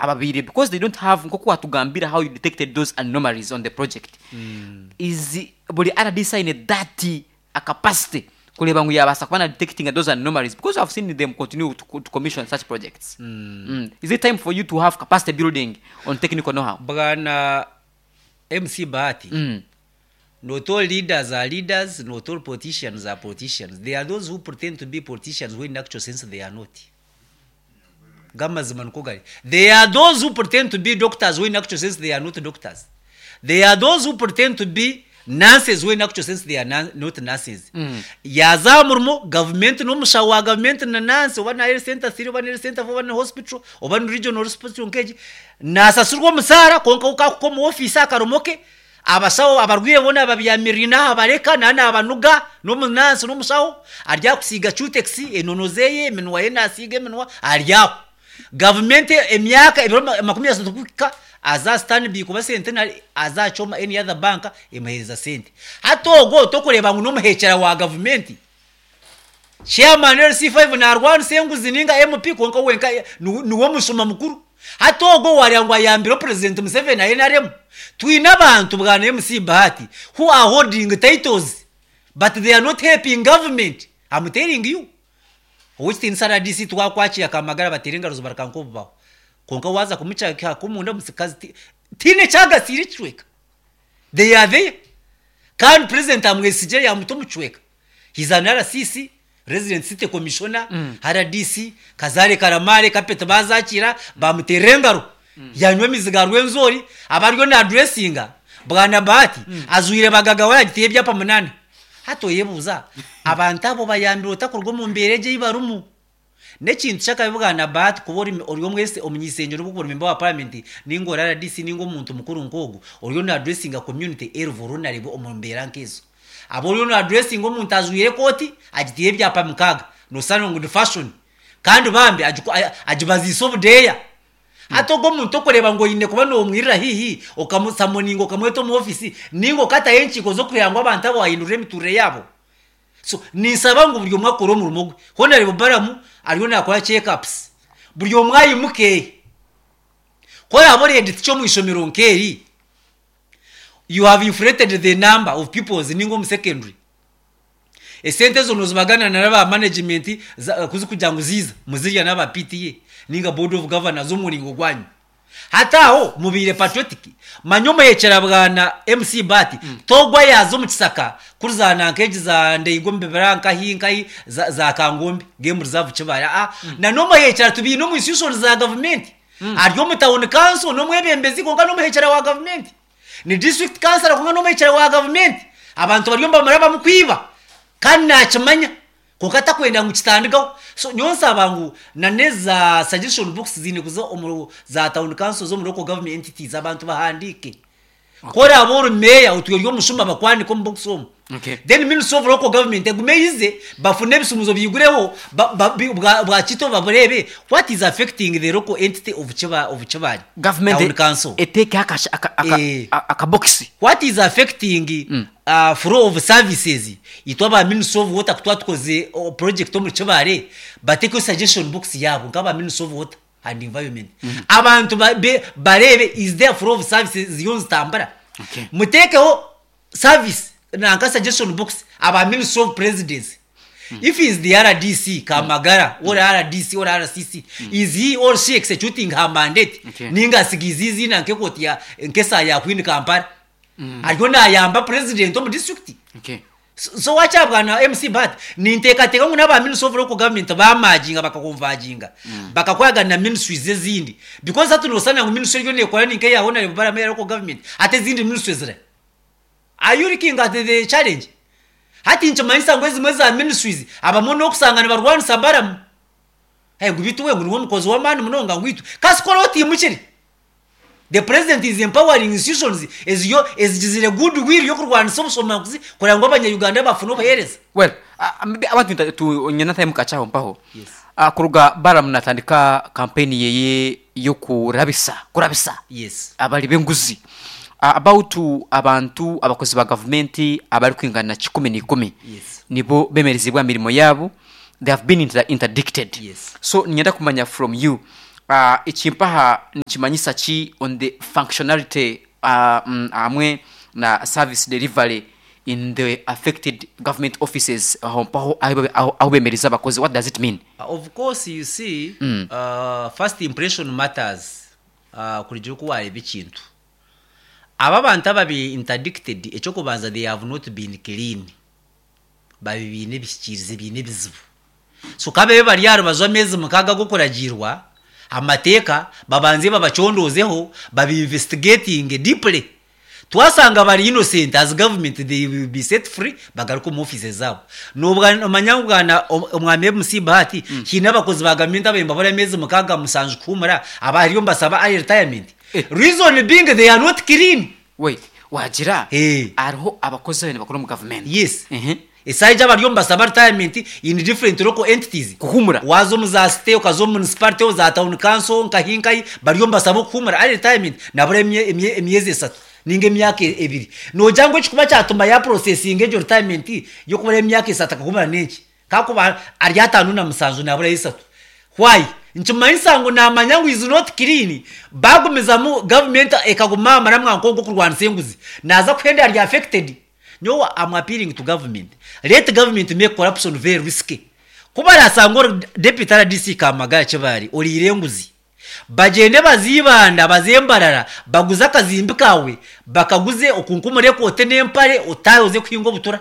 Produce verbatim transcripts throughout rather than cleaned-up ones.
Ababiire, because they don't have, nk'oku watugambira how you detected those anomalies on the project, is buri R D C aine that a capacity kureeba ngu yabaasa kuba na detecting those anomalies? Because I've seen them continue to, to commission such projects mm. Is it time for you to have capacity building on technical know-how? Bwana M C Bahati, mm. not all leaders are leaders, not all politicians are politicians. There are those who pretend to be politicians when in actual sense they are not. Gamazima niko gari. There are those who pretend to be doctors when in actual sense they are not doctors. There are those who pretend to be nurses when in actual sense they are na- not nurses. Mm. Yaza aha murimo gavumenti n'omushaho wa gavumenti na nurse, oba na health center three, oba na health center four, oba na hospital, oba na regional hospital nk'egi, nasasurwa omusaara, konka ukakuka omu ofiisi akaromo ke, abashaho abarwaire boona babyamirire aha bareka na nabanuga n'omunansi n'omushaho ari akusiiga Cutex enono zeye, eminwa ye nasiiga eminwa ari aho. Gavumenti emyaka ebiro ma- makumi asatu kuhika aza Stanbic kuba Centenary, aza Choma, any other bank emuheereza sente. Hati ogwo tokureeba ngu n'omuhekyera wa gavumenti, chairman L C five narwanisa enguzi ninga M P, konka wenka niwe niwe mushuma mukuru. Hati ogwo wareba ngu ayambire President Museveni na N R M. Twine abantu, bwana M C Bahati, who are holding titles but they are not helping government. I'm telling you, owekitiinisa R D C twakwakira Kamagara, bateera engaro zibarika nk'obubaho, konka waza kumucaka kumunda omusikazi ti- tiine kyagasiire ekicweka. They are there kandi President amwesigye yamuta omucweka. He's an R C C, resident city commissioner. mm. R D C Kazare Karamare kapeti bazakira bamuterera engaro, mm. yanywa emizi ga Rwenzori, abariyo nadressinga, bwana Bahati, mm. azwire bagaga wayagitiye ebyapa munana. Hati oyebuuza, abantu abo bayambire otakurwa omu mbeera egyo ei barimu? N'ekintu kyakabi, bwana Bahati, kuba ori ori omwese omunyisengero bw'okuri member wa parliament ninga ori R D C ninga omuntu mukuru nk'ogwo oriyo nadressinga community eri vulnerable omu mbeera nk'ezo, aba oriyo nadressinga omuntu ajwire ekooti agitiire ebyapa mukaaga, nosanga ngu ni fashion, kandi bambi agiku- a- agibaziise obudeeya. Hati ogwo omuntu okureba ngu oine kuba nomwirira haihi, okamusummoninga, okamweta omu ofisi ninga okatayo enkiiko z'okugira ngu abantu abo wahindurira emiturire yabo. So ninsaba ngu buri omwe akore omurimo gwe. Honorable Baramu ariyo nakora checkups, buri omwe ayimuke. Koraba ori head teacher omu ishomero nk'eri, you have inflated the number of pupils, ninga omu secondary, esente ezo nozibagana naba management za- kuzi kugira ngu ziza muzirya n'aba P T A ninga board of governors omuringo gwanyu. Hati aho mubiire patriotic. Manya omuhekyera, bwana M C Bahati, togwa yaza omu kisaka kurizana nk'egi za Ndeigo mubibira nkahi nkahi za, za Kangombe Game Reserve Kibara ah, na n'omuhekyera tubiine omu institution za gavumenti, ari omu town council n'omwebembezi, konka n'omuhekyera wa gavumenti, ni district councilor, konka n'omuhekyera wa gavumenti. Abantu bariyo nibamara bamukwiba kandi nakimanya, konka atakwenda ngu kitandikaho. So nyowe nsaba ngu na neza suggestion box ziine kuza omu za town councils, omu local government entities, abantu bahandiike. Koraba ori meya otwire ori omushuma, bakwandika omu box omu. Okay. Then Ministry of Local Government egume yize bafune ebisumuzo byigureho ba- ba- bi- bwa bwakito baburebe what is affecting the local entity of Kiba of Kibali Government town council. Eteeke aka- aka- aka- Eh. a- akabokisi. What is affecting mm. uh, flow of services? Itwe aba Ministry of Water kutwa tukoze oh, project omu Kibale, batekeho suggestion box yabo nk'aba Ministry of Water and Environment, mm -hmm. abantu ba, be, barebe is there flow of services ziyo nzitambura. Okay. Mutekeho service nanka suggestion box aba Ministry of Presidency. Mm. If is the R D C Kamagara mm. or R D C or R C C, mm. is he or she executing her mandate? Okay. Ninga asigizizi na nkekoti ya nkesa ya Queen Kampala, mm. ariyo nayamba president omu district. Okay. so so wacha, bwana M C Bahati, ninteekateeka ngu n'aba Ministry of Local Government bamajinga bakaconverginga, mm. bakakwagana na ministries ezindi, because hati nosanga ngu ministry eriyo nekora ninka eya Honorable Balaam ya local government, ate ezindi ministries zira. Are you looking at the challenge? Hati nkimanyisa ngu ezimwe za ministries abamwe n'okusanga nibarwanisa Balamu. Hey, ngu bitu we ngu niwe omukozi w'amaani munonga ngu itwe kasikora otimukire. The president is empowering institutions eziyo ezigizire goodwill yokurwanisa obushomankuzi kugira ngu Abanyayuganda bafune obuheereza. Well, uh, maybe I want to, to nyina time kachaho mpaho. Yes. uh, kuruga Balaam natandika campaign yeye yokurabisa kurabisa yes abali b'enguzi, uh, about abantu abakozi ba gavumenti abari kwingana kikumi n'ikumi Yes. nibo bemerezibwa mirimo yabo, they have been inter interdicted. Yes. So ninyenda kumanya from you, uh, ekimpaha nikimanyisa ki on the functionality uh, mm, hamwe na service delivery in the affected government offices aho mpaho aho- aho aho bemereza abakozi what does it mean Uh, of course you see Mm. uh, first impression matters uh, kurugira oku wareeba ekintu aba abantu ababi interdicted ekyokubanza they have not been clean babi biine ebihikirizi biine ebizibu so kababe bari aha rubaju ameezi mukaaga g'okuragiirwa amateeka babanze babacondoozeho babi-investigating deeply twasanga bari innocent as government they will be set free bagaruka omu office zaabo Nobwa- omanya ngu bwana om- omwami mc bahati hiine abakozi ba gavumenti abaye mbabura ameezi mukaaga mushanju kuhumura abariyo mbasaba early retirement Eh. reason being they are not clean wait wagira Eh. hariho abakozi abene bakora omu gavumenti yes Mhm. esaija bariyo mbasaba retirement in different local entities Kuhumura. waza omu za city okaza omu municipality za town council nkahi nkahi bariyo mbasaba okuhumura early retirement nabura emye- emye- emyezi esatu ninga emyaka ebiri nogira ngu ekikuba kyatuma ya processing egyo retirement yokubura emyaka esatu akahumura nenki kakuba ari ataano na musanju naburayo esatu why nkimanyisa ngu namanya ngu is not clean bagumizamu government ekaguma amara mwanko gwokurwanisa enguzi naza kuhenda ari affected nyowe am appealing to government let government make corruption very risky kuba arasanga ori deputy rdc kamagara kibari oriire enguzi bagende bazibanda bazembarara baguze akazimbi kawe bakaguze okunkumure kote n'empare otahe oze kuhinga obutura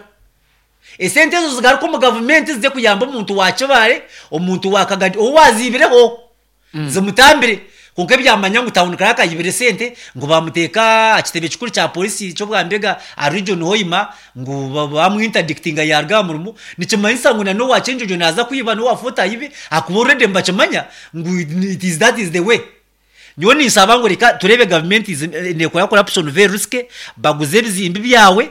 esente ezo zigaruka omu gavumenti zize kuyamba omuntu wa kibare omuntu wa kagadi ou waziibireho zimutambire konka ebyamanya ngu town clerk ayibire sente ngu bamuteeka aha kitebe kikuru kya polisi ky'obwambega aha region hoima ngu ba- bamwinterdictinga yaruga aha murimo nikimanyisa ngu na n'owa kyenjojo naza kwiba n'owa Fort ayibe akuba already nibakimanya ngu it is that is the way nyowe ninsaba ngu reka turebe gavumenti izi- nekora corruption very risky baguze ebizimbi byawe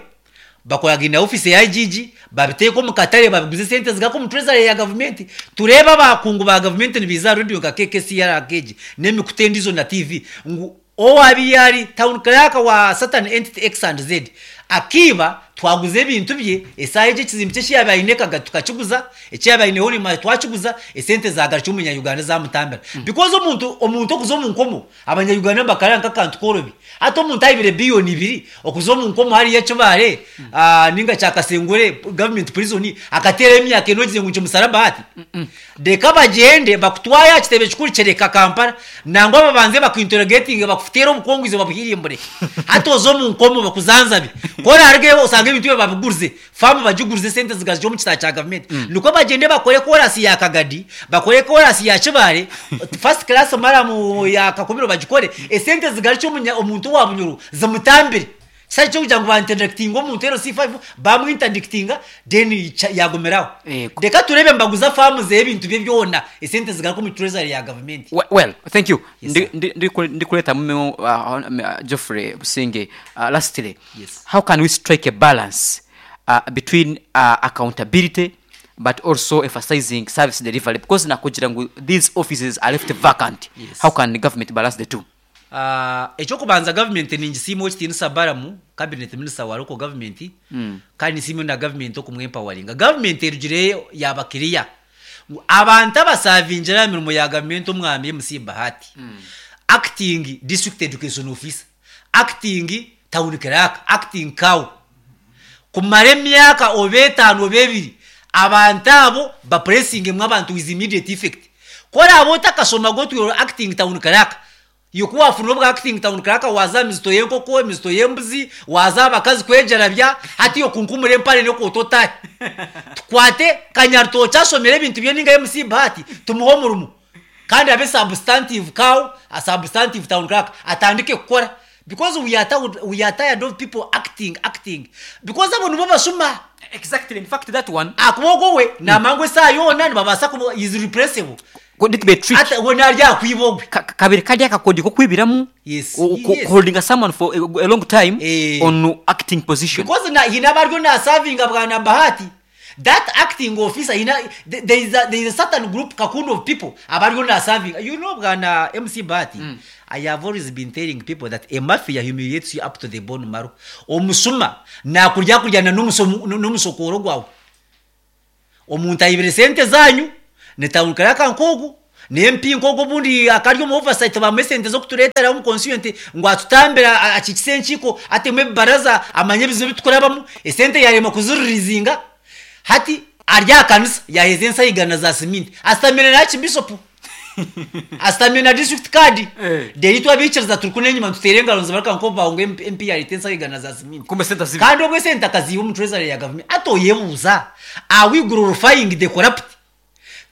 bakoragina office ya IGG babiteeka omu katare babiguze sente zigaka omu treasury ya gavumenti turebe abakungu ba gavumenti nibiza radio nka KKCR keji n'emikutu endizo na TV ngu owabi yari town clerk wa certain entity X and Z akiba twaguze ebintu bye esaaha egyo ekizimbi kye ekiyaba aine kaga tukakiguza ekiyaba aine horima twakiguza esente zagarukira omunya-uganda zamutambira because omuntu omuntu okuza omu nkomo abanya-uganda bakarara nk'akantu korobi hati omuntu ayibire biliyoni ibiri okuza omu nkomo hariya ekibare ah, ninga kyakasengure government prison akateerayo emyaka ena ogize ngu nkimusaraba hati reka bagyende bakutwaye aha kitebe kikuru kireka kampala nangwa babanze bakuinterrogating bakuteera obukongwizi babuhirimbure hati oze omu nkomo bakuzanzabe korarugeyo osanga ebintu bye babigurize famu bagigurize sente zigazija omu kitabo kya gavumenti nikwo bagende bakore korasi ya kagadi bakore korasi ya kibare first class maramu ya kakumiro bagikore esente zigarukye omunya- omuntu wa bunyuru zimutambire kisari kyo kugira ngu bainterdictinga omuntu ero C five bamwinterdictinga then ica- yagumiraho Yego. reka turebe mbaguza famu ze ebintu bye byona esente zigaruka omu treasury ya gavumenti We- well thank you Yes, Ndi- sir. ndi- ndi- ndikuleta mume uh, uh, Geoffrey Businge uh, lastly Yes. how can we strike a balance uh, between uh, accountability but also emphasizing service delivery because nakugira ngu these offices are left vacant Yes. how can the government balance the two Ah, ekyokubanza gavumenti ningisiima ekitiinisa baramu cabinet minister wa local government mm. kandi nsiime na gavumenti okumwempoweringa gavumenti erugireyo yaba clear Ngu abantu abasavingira aha mirimo ya gavumenti omwami mc bahati mm. acting district education officer acting town clerk acting cow kumara emyaka oba etaano oba ebiri abantu abo bapressingemu abantu with immediate effect koraba otakashoma gotwire acting town clerk yoku wafuna obwa acting town clerk waza emizito y'enkoko emizito y'embuzi waza abakazi kwejarabya hati yokunkumura empare nokwota otahe tukwate kanyarutoki ashomere ebintu bye ninga mc bahati tumuhe omurimo kandi abe substantive cow a substantive town clerk atandike kukora because we are tired, we are tired of people acting acting because abo nibo bashuma exactly in fact that one akuboko we namangwa esaha yoona nibabaasa kuba is replaceable could it be a trick ata we narya akwiba ogwe Ka- ka- kabiri kari akakodi ko kwibiramu Yes, O- ko- yes. holding someone for a, a long time Eh. on acting position because na hina abaryo nasavinga bwana bahati that acting officer hina th- there is a, there is a certain group kakundi of people abaryo nasavinga you know bwana mc bahati mm. i have always been telling people that a mafia humiliates you up to the bone marrow omusuma nakurya kuryana n'umusomo- n'omusokoro gwawe omuntu ayibire sente zanyu ni town clerk nkogu N M P nk'ogwo obundi akari omu oversight, bamuha esente z'okutureetera omu constituent ngu atutambire, akikise enkiiko, atemu ebibaraza, amanye ebizibu ebitukurabamu. Esente yarema kuziririzinga, hati ari aha kanisa yaheeza ensayigana za siminti, asitamire na archbishop, asitamire na district card. Eh. Then itwe abiikiriza turi kunu enyima nituteera engaro, nizibaruka nk'obu ngu M P yareeta ensayigana za siminti. Kumbe sente zibi. Kandi obwo esente akaziiha omu treasury ya gavumenti. Ati oyebuuza, are we glorifying the corrupt?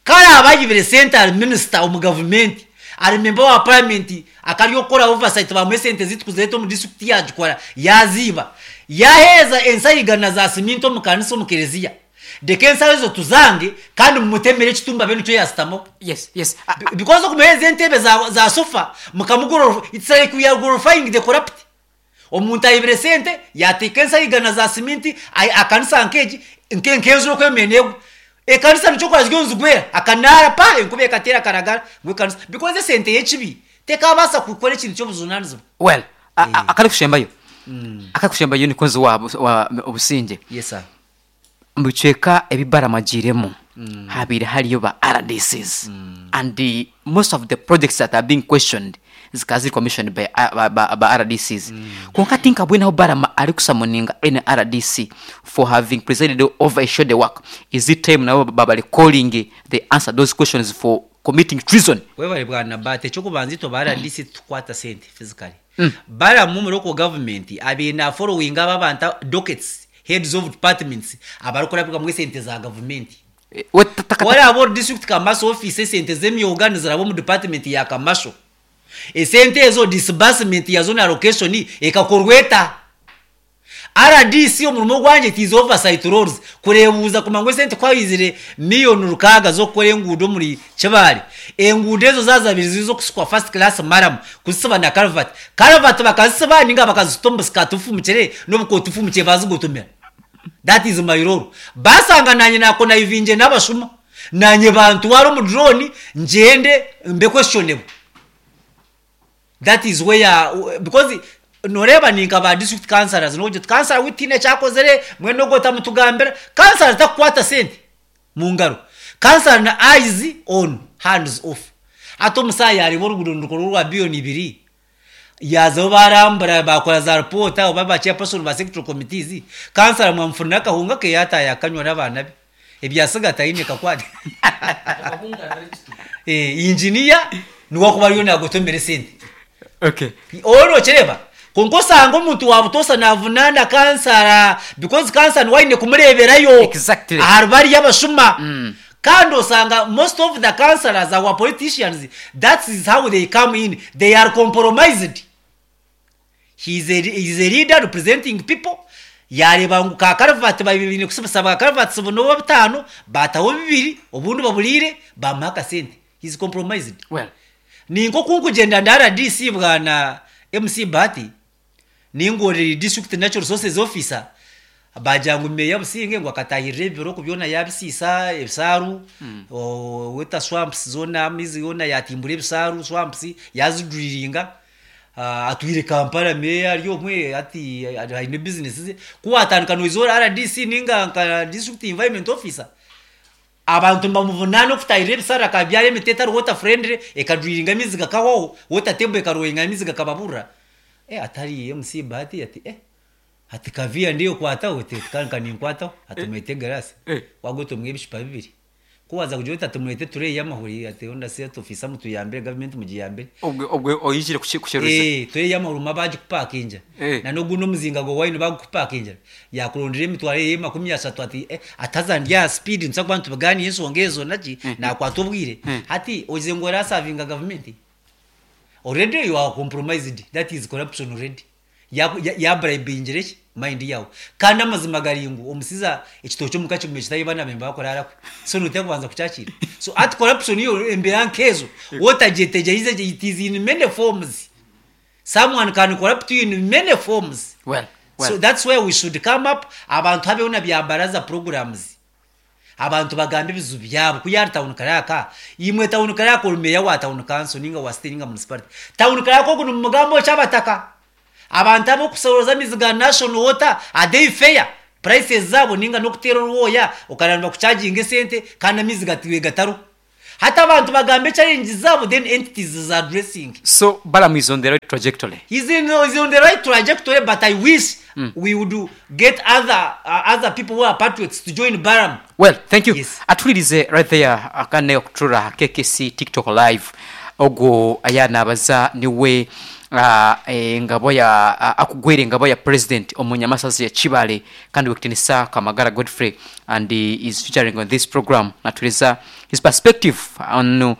Kare abayibire sente ari minisita omu gavumenti, ari member wa parliament, akari okukora oversight, bamuha esente zitu kuzireeta omu district, yagikora, yaziiba, yaheeza ensayigana za siminti omu kanisa, omu kereziya. Reka ensaho ezo tuzange kandi mumutemere ekitumba be nikyo yasitamaho. yes yes A- Be- because okumuheeza entebe za, za sofa mukamugoror, it's like we are glorifying the corrupt. Omuntu ayibire sente, yateeka ensayigana za siminti, ai- akanisa nk'egi nke- nk'enjura okwemene egwa, ekanisa nikyo kora ziryo nizigwera akanaara pa enkuba ekateera akaragara ngu ekanisa, because esente y'ekibi tekabaasa kukora ekintu ky'obujunanizibwa. Well, a- a- akari kushembayo akari kushembayo nikonzi wa wa Obusinge. Yes sir. Mu bicweka ebi baramagiremu habaire hariyo ba R D Cs, and the, most of the projects that are being questioned zikaba ziri commissioned by, by, by, by R D Cs. Konka tinkabwenaho Barama ari kusummoninga any R D C for having presided over a shoddy work. Is it time nabo babali calling they answer those questions for committing treason? Webale bwana Bate. Ekyokubanza, itwe ba R D C tukwata sente physically. Baramu mu local government abiine na following aba abantu, dockets, heads of departments abarikurabirwamu esente za gavumenti. Eh, we ta- ta- Waraba ori district commercial office, esente z'emyoga niziraba omu department ya commercial. Esente ezo disbursement yazo na allocation ekakorwa eta? R D C omurimo gwangye it is oversight roles, kurebuuza kumanya ngu esente kwayizire miliyoni rukaaga z'okukora enguudo omuri Kibaare, enguudo ezo zazabire ziri z'okusikwa first class murram, kuzisiba na culvert culvert bakazisiba ninga bakazita omu busikaati bufumukire n'obukooti bufumukire bazigotomera. That is my role. Basanga nanye nakonnivinge n'abashuma, nanye bantwara omu drone, ngyende mbe questionable. That is where, because noreeba ninka ba district councillors, nogira councillor witiine ekyakozere mwene ogwo otamutugambira. Councillor takukwata sente mu ngaro, councillor na eyes on, hands off. Ate omusaayi yareeba oruguudo nirukorwa rwa biliyoni ibiri, yazaho barambura, bakora za report oba ba chairperson ba sectoral committees, councillor mwamufunira akahunga ke, yataaya akanywa n'abaana be, ebyasiga taine kakwate. Eh, engineer niwe akuba ariyo nagotomera esente. Okay oro okireba, konka osanga omuntu wa butosa navunana kansara, because kansara niwe aine kumureberayo. Exactly. Ahari bariyo abashuma. Kandi osanga most of the councillors, our politicians, that is how they come in. They are compromised. he is a, he is a leader representing people. Yareba ngu ka culvert babiri kusibisa ba culverts buno butaano, bataho bibiri, obundi baburiire, bamuha akasente. He is compromised. Well, ninko kunkugyenda nda R D C, bwana M C Bahati, ningorera district natural resources officer, bagira ngu meya Businge ngu akatahirira ebibiro byona, yabisiisa ebisaaru, o- water swamps zona, amaizi yona yatimbura ebisaaru, swamps yazidrilinga. uh, atwire Kampala, meya ari omwe ati aine business ze. Kuwatandika noizora R D C ninga nka district environment officer, abantu nibamuvunana okutahirira ebisara, akabyara emiti etari water friendly, ekadrilinga amaizi gakahwaho, water table ekaroyinga amaizi gakababurra. eh, atari M C Bahati ati eh ati kaviya ndiyo kwataho kandi ninkwataho, ati mwete garasi. Eh. Wagotomwe ebishupa bibiri, kuwaza kugira oti ati mwete tray y'amahuri, ati onda se ofisa mutuyambire, gavumenti mugiyambire. Obwe obwe oyijire kusheruza. Eh, tray y'amahuri ma bagikupakinja. Eh. Na n'ogundi omuzinga gwa wine bagukupakinja, yakurondera emitwaro ye makumi ashatu, ati eh, ataza ndya speed nsa kuba nitubiganiye ensonga ezo naki nakwata obwire. Hati ogize ngu orasavinga gavumenti, already you are compromised. That is corruption already. Yabribingire ki mind yawe. Kandi amazima gari ngu omusiza ekitookye omuka kigume kitayiba nabemba bakuraarakwe, so noteeka kubanza kukyakira. So ati corruption yo embeera nkezo wotagyetegyereize, it is in many forms. Someone can corrupt you in many forms. Well, well. So that's where we should come up. Abantu habeho na bya baraza programs, abantu bagambe ebizibu byabo. Kuyari town clerk, imwe town clerk, ori meya wa town council ninga wa state ninga municipality, town clerk ogu ni mugambo ky'abataka, abantu abokusoroza amaizi ga National Water, are they fair prices zabo, ninga n'okuteera orwoya okaramba kuchaginga esente kandi amaizi gatiwe gatariho? Hati abantu bagambe challenges zaabo, then entities za addressing. So Balaam is on the right trajectory. He's, in, he's on the right trajectory, but I wish mm. we would get other uh, other people who are patriots to join Balaam. Well, thank you. Yes. Atulirize right there akane okutura K K C TikTok live, ogwo ayanabaza niwe uh, engabo ya uh, akugwera engabo ya president omunyamasazi ya Kibale kandi wekitinisa Kamagara Godfrey, and he is featuring on this program, natuleza his perspective on uh,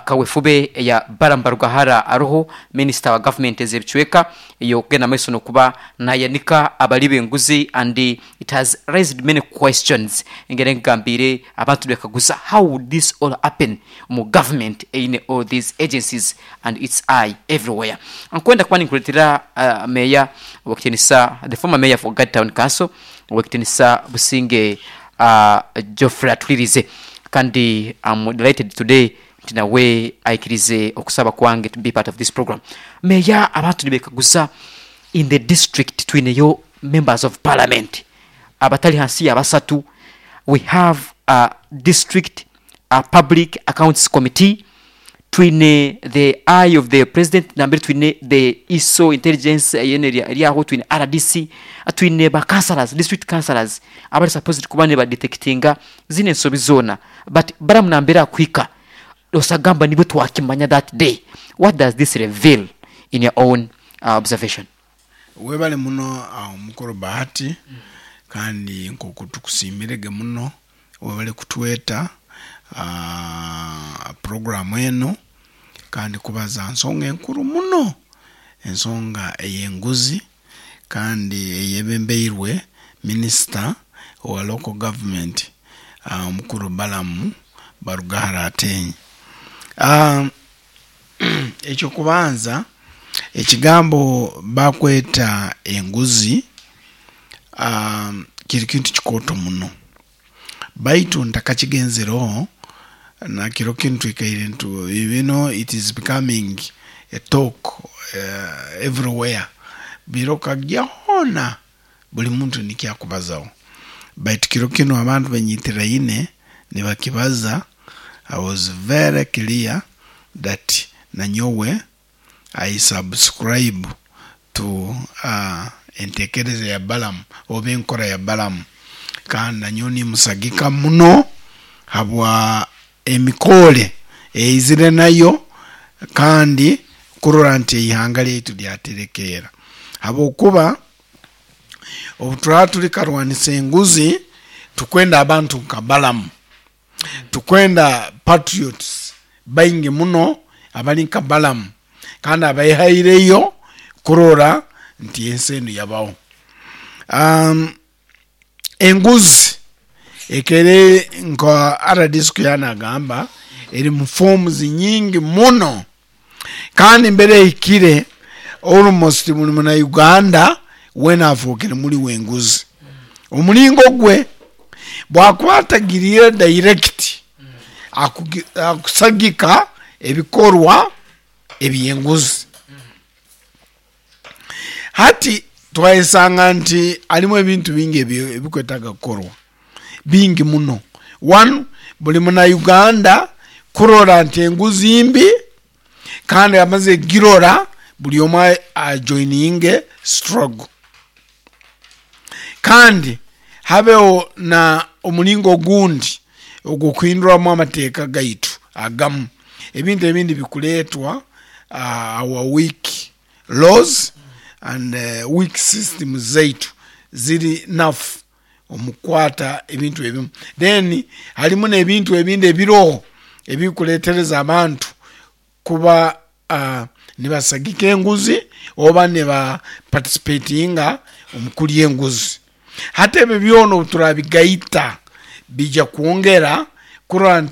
kawefube ya Balaam Barugahara aroho minister wa government ez'ebicweka iyo kugenda maiso nokuba nayanika abali b'enguzi, and it has raised many questions. Engeri nkugambire, abantu bekaguza, how would this all happen mu government eine all these agencies and its eye everywhere? Nkwenda kuba ninkuletera uh, meya wekitinisa, the former mayor for Gad Town Council, wekitinisa Businge uh, Geoffrey atulirize. Kandi I'm delighted today nti nawe aikirize okusaba kwange to be part of this program. Meya, abantu nibekaguza, in the district twineyo members of parliament abatali hansi ya basatu, we have a district a public accounts committee, twine the eye of the president, nambere twine the I S O intelligence yene eryaho, twine R D C, twine ba councillors, district councillors abali supposed kuba ne badetectinga zine ensobi zona, but Balaam nambere akwika osagamba nibwe twakimanya that day. What does this reveal in your own uh, observation? Webale muno awo mukuru Bahati, kandi nkoku tukusimirege muno, webale kutweta uh, programu eno kandi kubaza nsonga enkuru muno, ensonga ey'enguzi kandi eyebembeirwe minisita owa local government, uh, omukuru Balaam Barugahara Ateenyi. uh, ekyokubanza ekigambo bakweta enguzi um, kiri kintu kikooto muno, baitu ntakakigenzereho nakiro kintu twikaire ntu you know it is becoming a talk uh, everywhere, birokagya hoona buli muntu nikyakubazaho, baitu kiro kinu abantu benyitiraine nibakibaza. I was very clear that nanyowe I subscribe to uh, entekereza ya Balaam oba enkora ya Balaam, kandi nanyowe nimusagika muno habwa emikore eizire nayo kandi kurora nti eihanga lyaitu lyaterekeera, habwokuba obu turaba turi karwanisa enguzi, tukwenda abantu nka Balaam, tukwenda patriots baingi muno abali nka Balaam kandi abaihaireyo kurora nti ensi enu yabaho. um, enguzi ekere nka R D C yanagamba eri mu forms nyingi muno, kandi mbere ehikire almost buli muna Uganda wena afuukire muli w'enguzi. Omulingo gwe bwakuba atagiriire direct, akugi- akusagika ebikorwa ebyenguzi. Hati twayesanga nti alimu ebintu bingi ebi- ebikwetaaga kukorwa bingi muno. One, buli muna Uganda kurora nti enguzi mbi, kandi amaze girora buli omwe ajoininge struggle, kandi habeho na omulingo ogundi ogwokuhinduramu amateeka gaitu agamu. Ebintu ebindi bikuleetwa uh, our weak laws and uh, weak systems zaitu ziri nafu omukwata ebintu ebimu. Then halimu n'ebintu ebindi ebiroho ebikuletereza abantu kuba uh, nibasagika enguzi oba niba participatinga omu kulya enguzi. Hati ebyo byona obu turabigaita bija kwongera kurora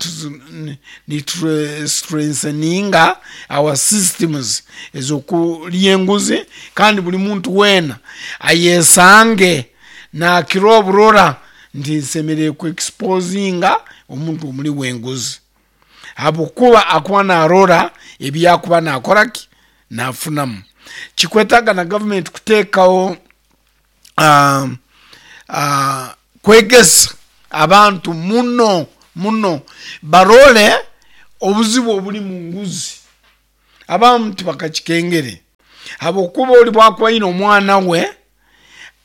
nitu strengtheninga our systems ez'okulya enguzi, kandi buli muntu weena ayesange nakira oburora nti nsemerere ku exposinga omuntu omuli w'enguzi, habwokuba akuba narora ebyakuba nakoraki nafunamu. Kikwetaaga na gavumenti kuteekaho uh, uh, kwegesa abantu muno muno barole. Obuzibu obuli mu nguzi abamu tibakakikengere habwokuba oli bwakuba aine omwana we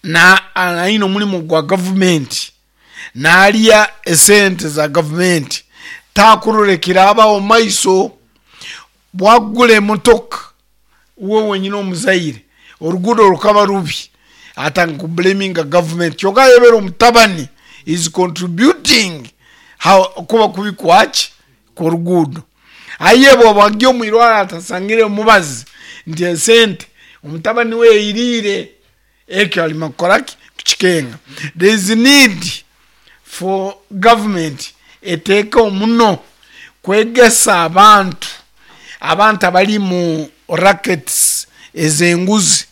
na aine omulimu gwa gavumenti nalya esente za gavumenti takurora ekirabaho mumaiso. Bwakugura emotoka we wenyini omuzaire oruguudo rukaba rubi atandika kublaminga gavumenti, kyonka ayebera omutabani is contributing kuba kubi kwaki kworuguudo. Aye bwaba ari omwirwariro atasangire omubazi nti esente omutabani we yayiriire, ekyo arima kukoraki kukikenga. There is need for government eteekeho muno kwegesa abantu, abantu abari mu rackets ez'enguzi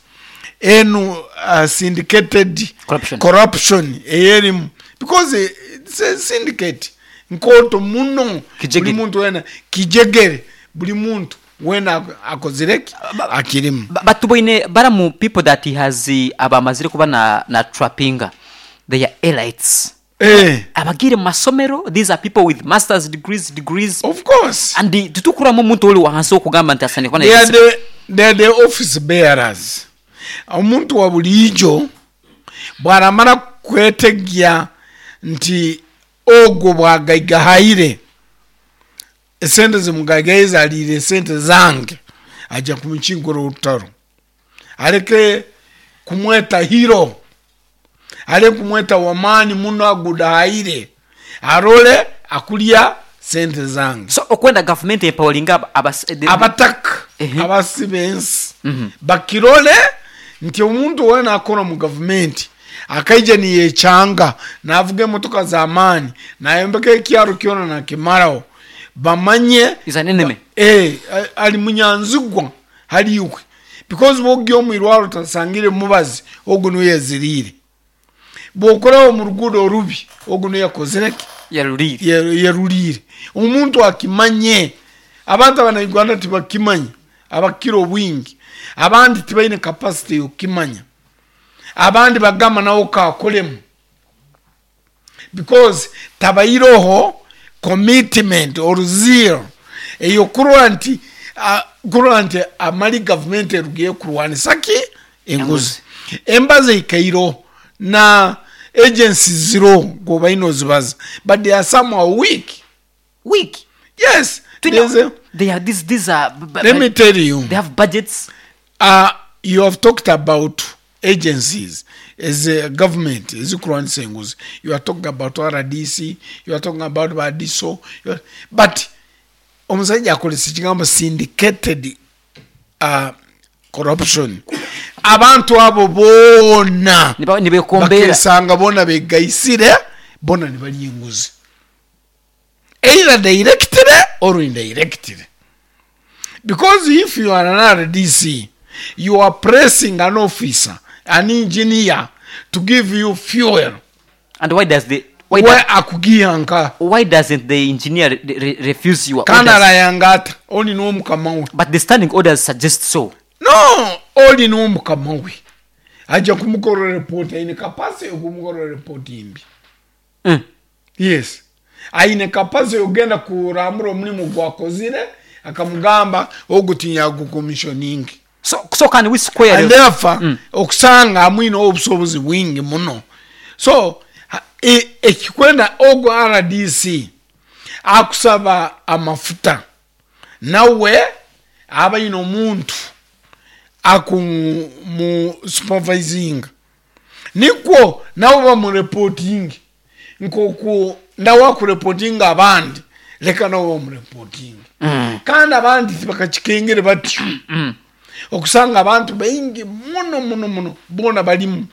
enu uh, syndicated Corruption. corruption eyerimu, because it's a syndicate nkooto muno. Kijegere. Buli muntu wena kijegere, buli muntu wena akozireki akirimu. Ba- batuboine baramu people that he has eh, abamazire kuba na, na trappinga, they are elites eh, abagire mu masomero. These are people with masters degrees degrees of course and eh, tutukuramu omuntu oli wansi okugamba nti asane kuba na they are the, they are the office bearers. Omuntu wa bulijo bwaramara kwetegya nti ogwo bwagaigahaire esente zimugaigaye aliire esente zange, ajja kumukinkura orutaro, areke kumweta hero, areke kumweta wamaani muno agudahaire, arole akulya sente zange. So okwenda gavumenti empoweringa aba- abas- the- Abataka Ehe. abasi b'ensi bakirole nti omuntu wena akora mu gavumenti akaija niyekyanga navuga emotoka z'amaani nayombeka ekyaro kyona nakimaraho, bamanye is an enemy. Eh, a- ali munyanzigwa haliwe, because bwogya omwirwaro tasangire mubazi, ogu niwe yaziriire. Bwokoraho mu ruguudo orubi, ogu niwe yakozireki yaruriire ye- yeruliire. Omuntu akimanye, abantu abanauganda tibakimanya, abakira obwingi abandi tibaine capacity yokukimanya, abandi bagamba nawe kakolemu because tabairoho commitment or zeal eyokurora nti ah, kurora nti amali gavumenti erugiye kurwanisa ki enguzi. Embaza ikairoho na agencies ziroho gobaine ozibaza, but they are somehow weak. Weak? Yes. Twine- There's a, they are these these are b- b- let me tell you, they have budgets. uh, you have talked about agencies as a government ezikurwanisa enguzi, you are talking about R D C, you are talking about badiso, you are, but omusajja akozesa ekigambo syndicated uh, corruption. Abantu abo boona Niba- nibekombeera bakesanga boona begaisire, boona nibalya enguzi either directly or indirectly, because if you are an R D C, you are pressing an officer, an engineer, to give you fuel. And why does the why, We does, akugihanka. Why doesn't the engineer re, re, refuse you? Why Kandi does- arayanga ata oli n'omukama we? But the standing orders suggest so. No, oli n'omukama we ajja kumukorera report, aine capacity yokumukorera report mbi. mm. Yes, aine capacity yogenda kurambura omulimu gwakozire akamugamba ogu tinyagucommissioning. so so can we square And the- therefore Mm. okusanga amwine obusobozi bwingi muno. So ha- e- ekikwenda ogu R D C akusaba amafuta, nawe aba aine omuntu akumu supervisinga, nikwo nawe bamureporting nkoku nawe akureportinga abandi, leka nawe bamureporting. Mm. Kandi abandi tibakakikengere batyo. Mm. Okusanga abantu baingi muno muno muno bona balimu,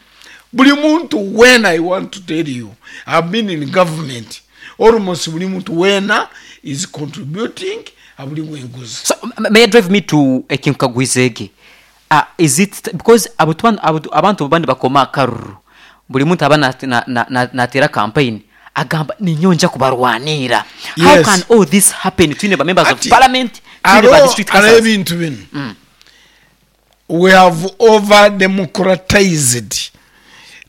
buli muntu wena. I want to tell you, I've been in government, almost buli muntu wena is contributing abuli enguzi. So m- may I drive me to ekinkagwizege, uh, is it because abantu abantu- abantu bandi bakoma akaruru, buli muntu aba natera na, na, na, natera campaign agamba ninyo kubarwanira. How Yes. can all this happen twine ba members of Ati, parliament, twine ba aro district aro councillors? ebintu bino, we have over democratized,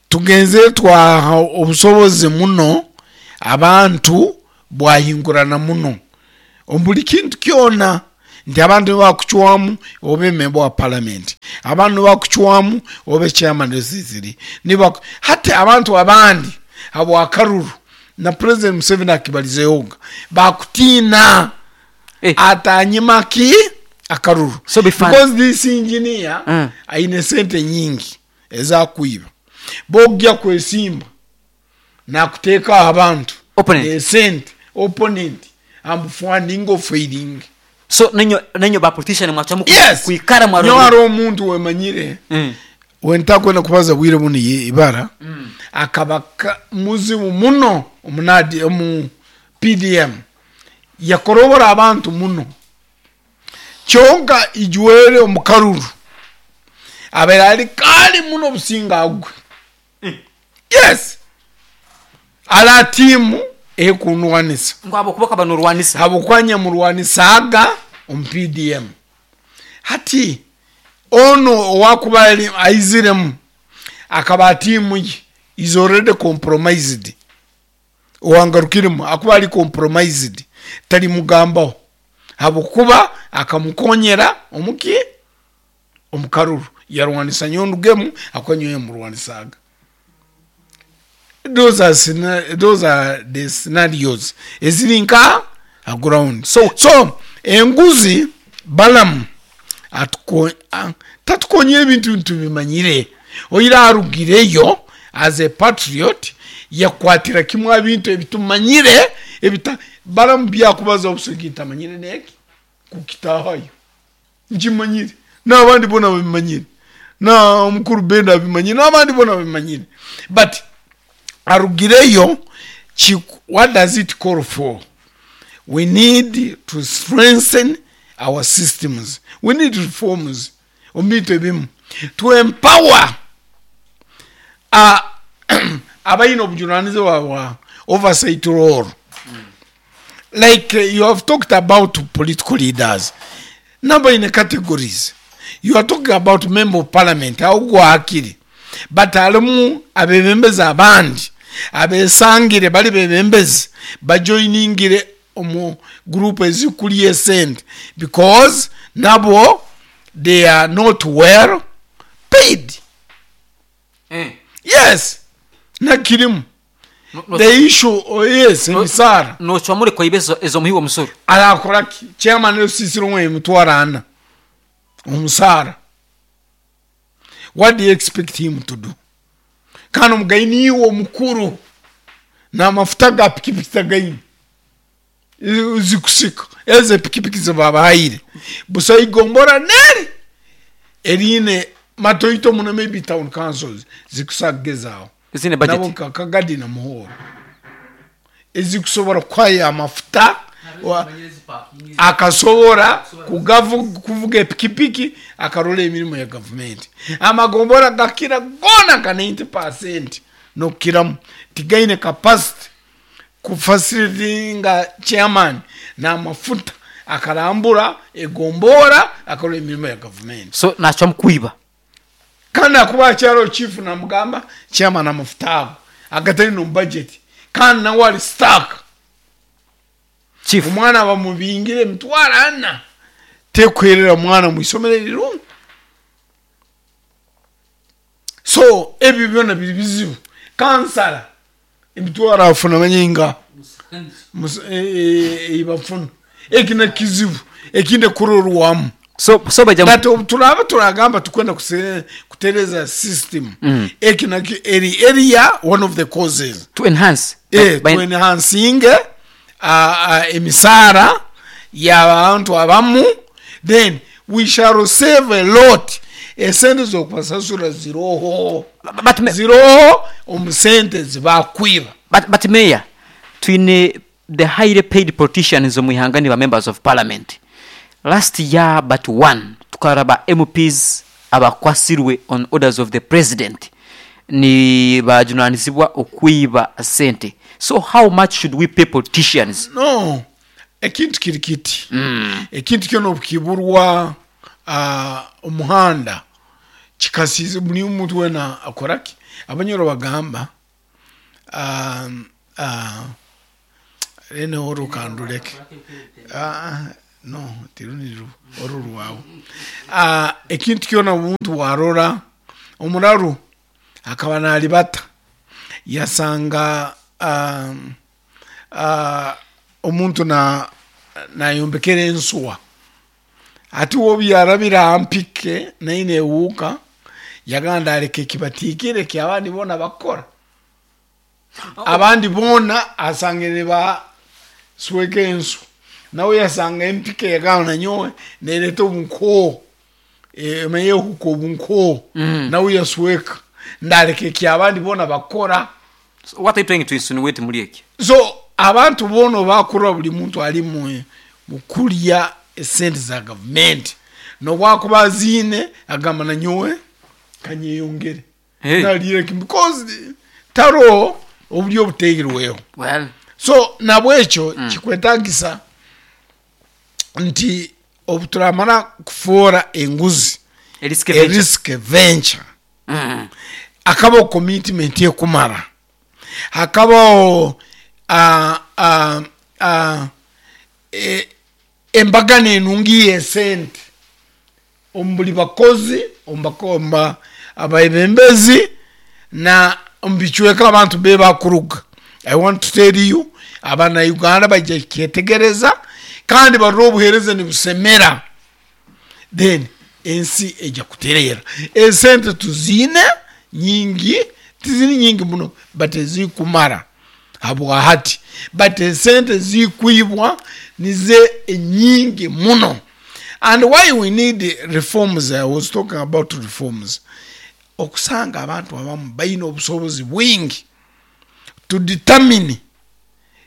tugenze twaha obusobozi muno abantu bwahingurana muno. Omu buli kintu kyona nti abantu nibakucwamu obe member wa parliament, abantu nibakucwamu obe chairman w'esisiri, nibaku hati abantu abandi habwakaruru na President Museveni akibalizehoga bakutiina Eh. atanyima ki akaruru. So be fun. Because this engineer Mm. aine sente nyingi ezakwiba, bogya kwesimba nakuteeka abantu Opponent. esente opponent amufunding of failing. So nenyo nenyo ba politician mwacwamu ku- Yes. kwikara Nyowe mwarora. hariho omuntu wemanyire Mm. wentakwenda kubaza bwire buno ye- ibara akaba ka- muzibu muno omunadi omu P D M, yakorobora abantu muno, kyonka ijwere omukaruru abaire ali kali muno obusinga agwe. Yes, ala tiimu ekunwanisa. Ngwabo kuba kabanorwanisa. Habwokuba murwanisaga omu P D M, hati ono owakuba ali- aiziremu akaba tiimu ye is already compromised, owangarukiremu akuba ali compromised, talimugambaho habwokuba akamukonyera omuki omukaruru yarwanisa nyondugemu akuba nyowe yamurwanisaga. Those are, scena- those are the scenarios eziri nka a ground. so, so enguzi Balamu atuko- a- tatukonye ebintu ntubimanyire, oira arugireyo as a patriot yakwatira kimwe ebintu ebitumanyire ebita Balamu byakubaza obusogi tamanyire neki kukitahayo nkimanyire n'abandi bona babimanyire, na omukuru Benda abimanyire, n'abandi bona babimanyire, but arugireyo chi- what does it call for? We need to strengthen our systems, we need reforms omu bintu ebimu to empower uh, abalina obujunanizibwa bwa oversight role. Like uh, you have talked about political leaders number in categories, you are talking about member of parliament augwakiri, but halimu abebembezi abandi abesangire bali bebembezi bajoiningire omu group ezikuli esente because nabo they are not well paid. Eh. Yes, nakirimu. No- no- The issue, oh yes, emisaara. Nocwamure kwaiba ezo ezo muhi w'omusoro. Arakora ki? Chairman osisire omwe emitwaro ana omusaara, what do you expect him to do? Kandi omugayi niiwe omukuru n'amafuta ga pikipiki tagaine zikusika ezo epikipiki zibabahaire busa igombora neri eriine matoito muno, maybe town councils zikusagezaaho. Ezine nabo budget. nka Kagadi na Muhoro ezikusobora kuhayo amafuta wa- akasobora kugavu- kuvuga epikipiki akarola emirimu ya gavumenti. Amagombora gakira gona ka ninety percent nokukiramu tigaine capacity kufacilitatinga chairman n'amafuta akarambura egombora akarola emirimu ya gavumenti. So nacwamu kwiba. Kandi akuba akyalo chief namugamba chairman amafuta ago agatali no budget, kandi nawe ali stuck. Chief. Omwana bamubingire emitwaro ana tekwerera mwana mwisomero erirungi, so ebyo byona biri bizibu. Kansala emitwaro afuna manyinga bafuna eki nekizibu ekindi kurorwamu. So so baja But obu turaba turagamba tukwenda kuse- kutereza system, Mm. eki nakyo eri area one of the causes. To enhance. eh, By- to enhancing uh, uh, emisaara y'abantu abamu, then we shall save a lot. Esente z'okubasasura ziroho. But, me- Ziroho omu sente zibakwiba. but, but mayor, twine the highly paid politicians omu ihanga ni ba members of parliament. Last year but one tukaraba M Ps abakwasirwe on orders of the president ni bajunanizibwa okwiba sente. So how much should we pay politicians? No, ekintu kiri kiti, mm. ekintu kyona obukiburwa uh, omuhanda kikasize buli omuntu wena akoraki. Abanyoro bagamba um, uh, Rene oru kandureke. Ah, no, tiruniru oru rwawe. Ah, ekintu kyona omuntu warora omuraru akaba nalibata yasanga um, uh, omuntu na nayombekera ensuwa ati wobyarabira ampike naye newuuka yagamba aleka ekibatiikire kyabandi boona bakora abandi boona asangire basweka ensu nawe yasanga empike yagamba nanyowe nereta obunkoo emanye ehuka obunkoo Mm. nawe yasweka ndaleka ekyabandi boona bakora. So what are you trying to insinuate muri eki? So abantu boona bakura buli muntu ali mu mukulya esente za gavumenti nobwakuba aziine agamba nanyowe kanyeyongere. Hey. Nalire kimu because taro oburyo obuteirweho. Well, so nabwekyo mm. kikwetagisa nti obuturamara kufuura enguzi a risk venture. Erisk venture Mm. akabaho commitment ekumara hakabaho uh, uh, uh, e, embagano enungi yesente omu buli bakozi omu bako- omu ba- abaebembezi na omu bicweka abantu be bakuruga. I want to tell you abana Uganda bajja kyetegereza kandi barora obuheereza nibusemera then ensi ejja kutereera. Esente tuziine nyingi, tiziri nyingi muno but ezikumara habwahati, but esente zikwibwa nize enyingi muno. And why we need reforms, I was talking about reforms, okusanga abantu abamu balina obusobozi bwingi to determine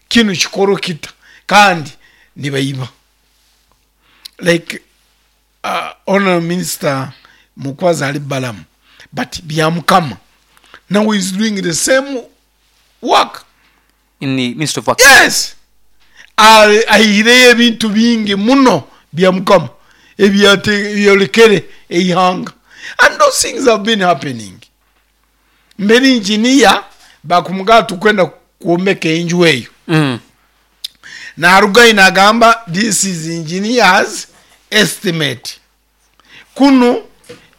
kinu kikoro kita kandi nibaiba. Like uh, honorable minister Mukwazi ali Balamu, but Byamukama now is doing the same work in the Ministry of Works. Yes, ahireyo ebintu bingi muno Byamukama ebyolekere eihanga, and those things have been happening. Mbere engineer bakumugaa tukwenda kwombeka enju eyo Mm. narugayo nagamba this is engineers estimate. Kuno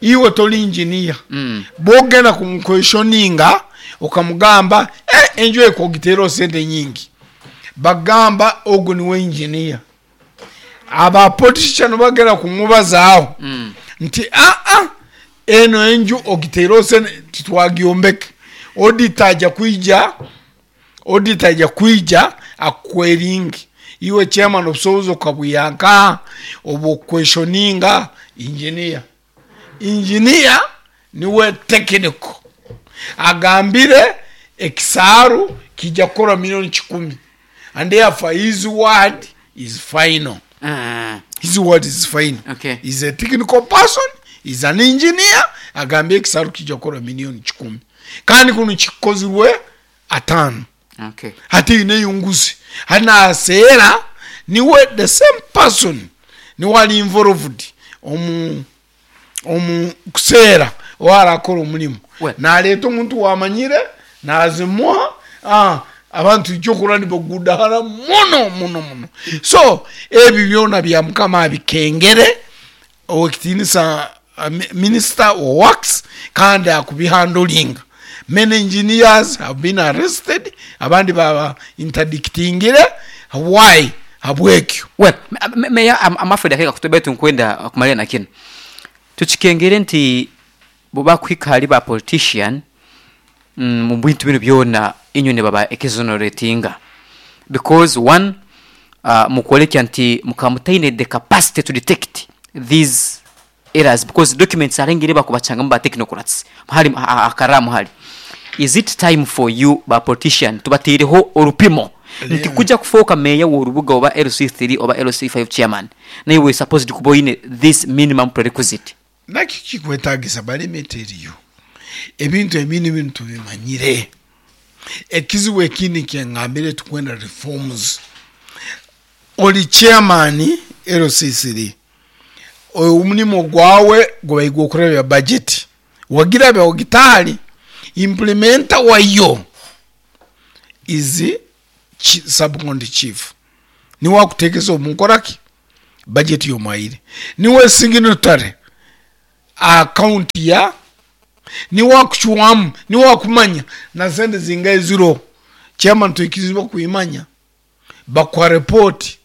iwe toli engineer Mm. bwogenda kumuquestioninga okamugamba eh, enju ekogitera sente nyingi, bagamba ogu niwe engineer. Aba politician bagenda kumubazaaho Mm. nti aa eno enju ogitera sente titwagyombeke, auditor ajja kwija, auditor ajja kwija akukweringi iwe chairman obusobozi okabwiyanka obuquestioninga engineer. Engineer niwe technical agambire ekisaaru kijja kukora milioni kikumi and therefore his word is final. Mm. His word is final. Okay. He's a technical person, he's an engineer, agambye ekisaaru kijja kukora milioni kikumi kandi kuno kikozirwe ataano. Okay. Hati ine yunguzi hati naseera niwe the same person niwe ali involved omu omu kuseera owarakora omulimu. Well. Naleeta omuntu wamanyire nazimuha ah, abantu ekyokura nibagudahara muno muno muno. So ebyo byona bya Mukama abikengere owekitinisa uh, minister wa works kandi akubihandolinga. Many engineers have been arrested, abandi baba interdictingire. Why? Habwekyo. Well, meya I'm afraid akeka kutobetu nkwenda kumalira na kino tukikengere nti buba kwika ali ba politician mm, mu bintu bino byona inywe ne baba exoneratinga because one uh, mukolekya nti mukamutaine the capacity to detect these errors because documents arengere bakubachanga ba technocrats hali akaramu hali. Is it time for you ba politician tubatireho olupimo nti kuja kufoka meya w'orubuga oba L C three oba L C five chairman naye we supposed kuboine this minimum prerequisite? Nakyo kikwetagisa balimeteriyo ebintu ebindi bintu bimanyire. Ekizibu ekindi kyengambire tukwenda reforms. Oli chairman L C three omulimu gwawe gwaigwa okurabya budget wagirabya ogitali implementer wayo is chi- sub-county chief niwe akuteekesa omunkoraki budget y'omwaire, niwe signatory account ya, niwe akucwamu, niwe akumanya na sente zingahe ziriho, chairman twikizibwa kuimanya bakuha report.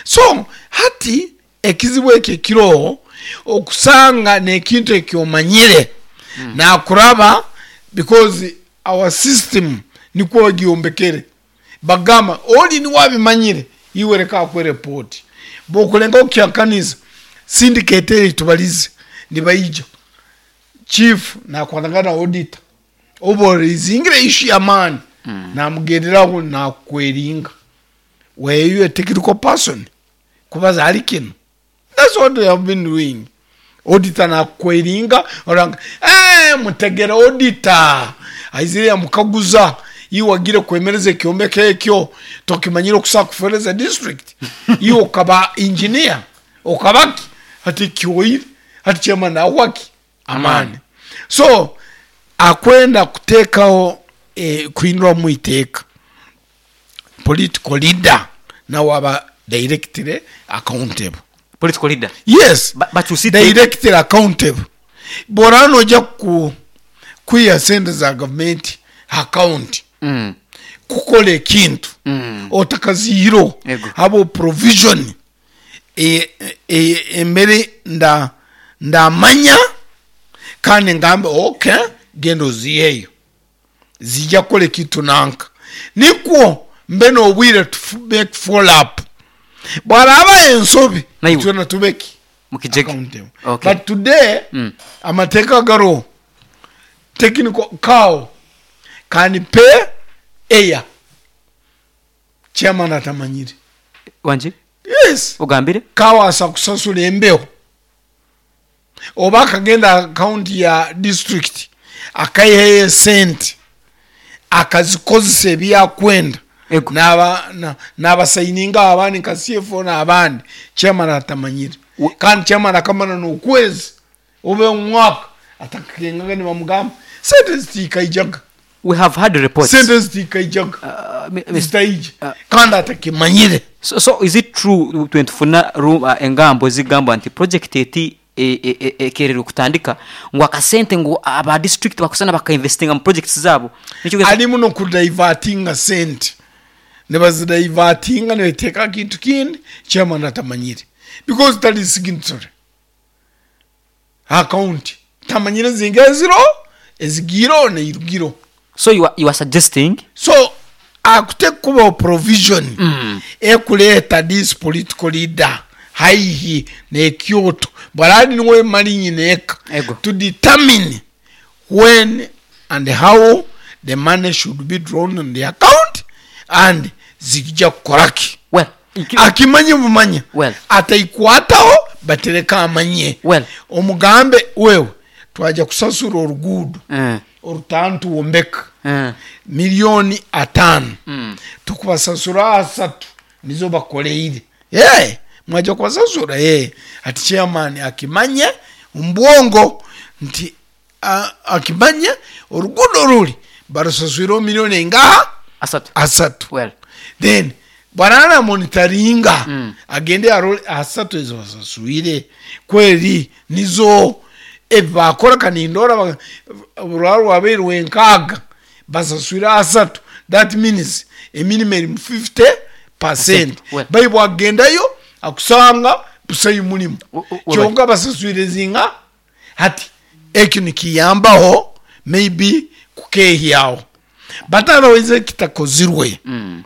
So hati ekizibu ekyo ekiroho okusanga nekintu ekyomanyire mm. nakuraba, because our system nikwo bagyombekere, bagamba oli niwe abimanyire, iwe reka akuhe report, bokulenga okukyakanisa syndicate eri tubalize nibaija chief nakwatagana na auditor oba orizingire issue y'amaani mm. namugenderaho nakweringa were you a technical person kubaza hali kino. That's what they have been doing. Auditor nakweringa oranga eh mutegera auditor aizire yamukaguza iwe wagire kwemereza ekyombeko ekyo tokimanyire okusa kufereza district, iwe okaba engineer okabaki hati kyoire hati chairman awaki amani. So akwenda kutekaho eh, kuhindura mu iteeka political leader nawe aba directly accountable. Political leader? Yes. Ba- bakyusite Directly accountable. Bora noja ku kwiha sente za gavumenti account mm. kukola ekintu Mm. otakazihiro Ego. habo provision e, e, embere nda ndamanya kandi ngambe okay genda oziheyo zijja kukola ekintu nanka nikwo mbe nobwire to make follow up bwaraba ensobi Naiwe. twena tubeki mukijege accountable. Okay. But today Mm. amateeka gariho technical cow can pay air chairman atamanyire. Wanje? Yes. Ogambire? Cow asa kusasula embeho oba akagenda account ya district akaiheyo esente akazikozesa ebyakwenda Ego. naba na- nabasayininga abandi nka C F O n'abandi chairman atamanyire. We- Kandi chairman akamara n'okwezi oba omwaka atakakengaga nibamugamba sente zitikaijaga. We have had reports. Sente zitikaijaga, Uh, mi- mi- zitaija Uh, kandi atakimanyire. so, so is it true twentufuna uh, engambo ezigamba nti project eti ekererwe kutandika ngu akasente ngu aba district bakusana bakainvestinga mu projects zabo? Nikyo Alimu nokudivertinga sente, nibazidivertinga nibateeka kintu kindi chairman atamanyire because tali signatory account, tamanyire zinga eziro ezigiro neirugiro. So you are, you are suggesting So akute kubaho provision mm. ekuleeta this political leader haihi nekyoto bwarali niwe mali nyineka Ego. to determine when and how the money should be drawn on the account and zikija kukoraki. Well, iki- Akimanye bumanya Well. ataikwataho batereka amanye. Well. Omugambe wewe twaja kusasura oruguudo mm. orutantu wombeka mm. miliyoni ataano, mm. tukubasasura asatu nizo bakoleire. Yeah, mwaja kubasasura. Yeah. Ati chairman akimanye ombwongo nti a- akimanye oruguudo ruri barusaswire miliyoni engaha? Asatu. Asatu. Well. Then bwarana monitoringa, Mm. agende arole asatu ezo basaswire kweri nizo ebakora kanindora rwari rwabeirwe enkaaga basaswire asatu, that means eminimum eri mu fifty percent. Well. Baibwe agendayo akusanga busayi mulimu O- o- kyonka basaswire zinga hati ekyo nikiyambaho maybe kukehyaho, but otherwise kitakozirwe mm.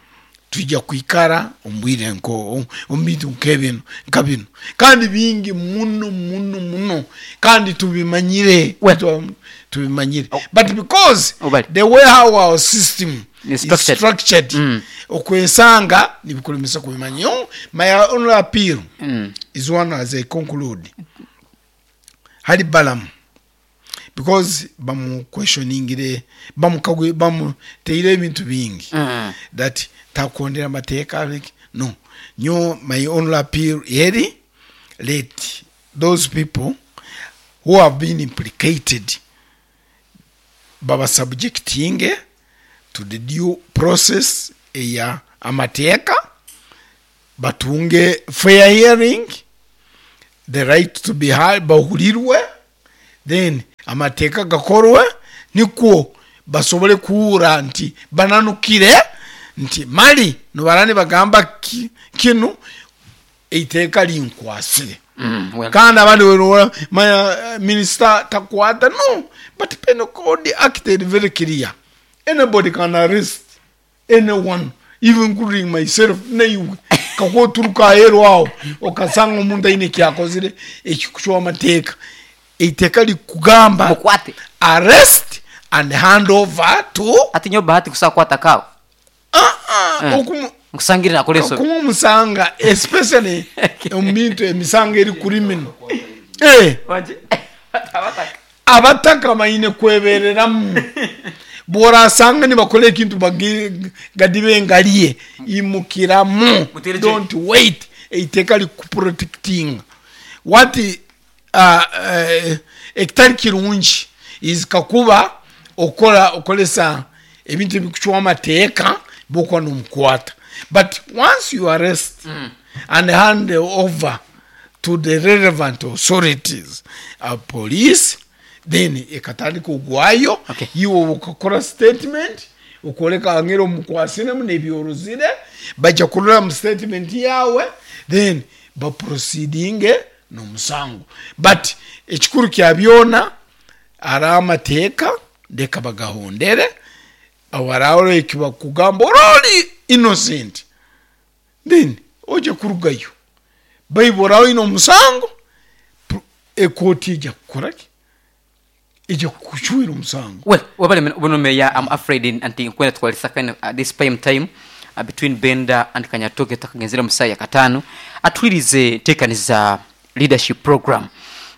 tujja kwikara ombwire nko omu bintu nk'ebino nka bino kandi bingi muno muno muno kandi tubimanyire. Well. Tu- tubimanyire Oh. but because Obali. the way how our system Is is structured. structured, Mm. okwesanga nibikulemesa kubimanya. Yo, my only appeal Mm. is one as I conclude hali Balamu, because bamuquestioningire, bamukagwe, bamuteire ebintu bingi Mm. that takondera amateeka. Like, no nyo my only appeal eri let those people who have been implicated baba subjectinge to the due process eya amateeka, batunge fair hearing, the right to be heard, bahurirwe, then amateeka gakorwe nikwo basobole kuhura nti bananukire nti mali nibara nibagamba ki, kinu eiteeka linkwasire. Mm, well, Kandi abandi werora maya minister takwata, no, but Penal Code acted very clear. Anybody can arrest anyone, even including myself. Naiwe kakoturuka aheru aho okasanga omuntu aine ekyakozire ekikucwa amateeka, eiteeka likugamba mukwate arrest and hand over to ati nyo bahati kusakwata kawo ah ah Eh. okumu nkusangire nakora ensobi kuba omusanga especially omu bintu emisango eri criminal eh Wanje. Abataka. abataka baine kwebereramu bworasanga nibakora ekintu bagi- gadibe ngaliye imukiramu Mutere don't wait eiteeka likuprotectinga what uh, uh, ekitari kirungi is kakuba okora okoresa ebintu ebikucwa amateeka bokuba nomukwata, but once you arrest mm. and hand over to the relevant authorities, uh, police, then ekatandika ogwayo. Okay. Iwe ukakora statement ukoreka ngero omukwasiremu nebyoruzire, bajja kurora mu statement yawe, then baproceedinge n'omusango. But ekikuru kya byona ari amateeka, ndeka bagahondere awararo ekibakugamba orori innocent, then oje kurugayo baibora oine omusango, pro- ekooti ejja kukoraki, ejja kukucwera omusango. Well, wabale buno meya, I'm afraid in- anti nkwenda twalisa kind of, uh, this prime time uh, between Benda and Kanyatoke takagenzera musaya katano atwirize ntekaniza leadership program,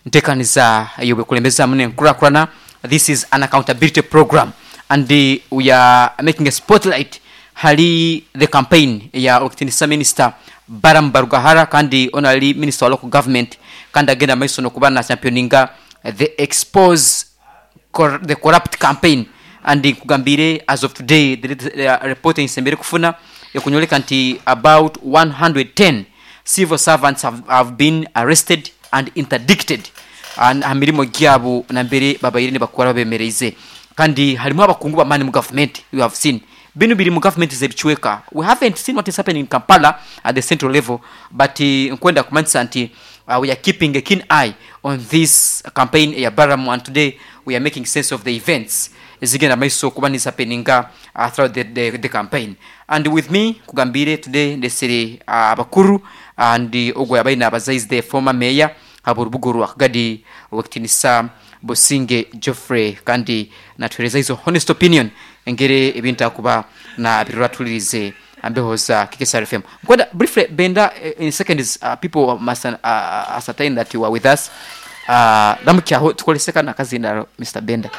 ntekaniza yobekulembeza mune nkurakurana. This is an accountability program and uh, we are making a spotlight hali the campaign ya okitinisa minister Balaam Barugahara kandi onali minister wa local government kandi agenda maiso nokuba na championinga the expose cor the corrupt campaign. And nkugambire as of today the, the report ensembere kufuna ekunyoleka nti about one hundred ten civil servants have, have been arrested and interdicted and ha mirimo gyabo nambere babaire nibakora babemereize, kandi harimu abakungu bamani mu government. You have seen bino biri mu government zebichweka. We haven't seen what is happening in Kampala at the central level, but uh, nkwenda kumanyisa nti uh, we are keeping a keen eye on this campaign ya Balaam, and today we are making sense of the events ezigenda maiso kuba nizihappeninga uh, throughout the, the, the campaign. And with me kugambire today ndesere uh, abakuru and uh, ogwo yabaine abazaizi the former mayor haburubugo rwa Kagadi wekitinisa Businge Geoffrey, kandi natuhereza izo honest opinion engere ebintu akuba na birura tulirize ambeho za K K S R F M. Nkwenda briefly Benda, eh, in seconds, uh, people must uh, ascertain that you are with us. Uh, ramukyaho tukoleseka nakazindaro Mister Benda.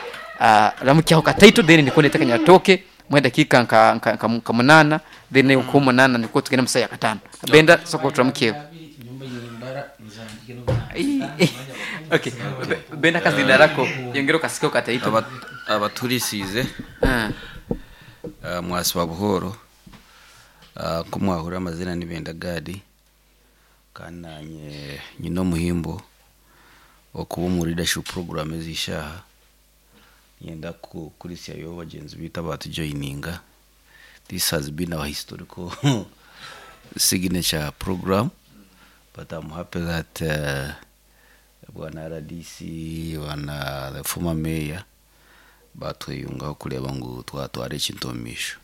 Uh, ramukyaho kataito then nikonde tekanya toke mwenda kika nka nka, nka, nka munana then mm. Ko munana niko tugenda musaya katano. Benda soko turamukyeho. Okay. Be- Benda kazindarako yongero kasiko kataito. Aba- abaturisize Ah. uh, mwasiba buhoro uh, ko mwahura amazina ni Benda Gadi, kandi nanye nyina omuhimbo okuba omu leadership program ezishaha nyenda kukurisyayo bagenzi bitu abatujoininga. This has been our historical signature program, but I'm happy that uh, bwana R D C bwana the former mayor batwiyungaho kureba ngu twatwara ekintu omu maisho.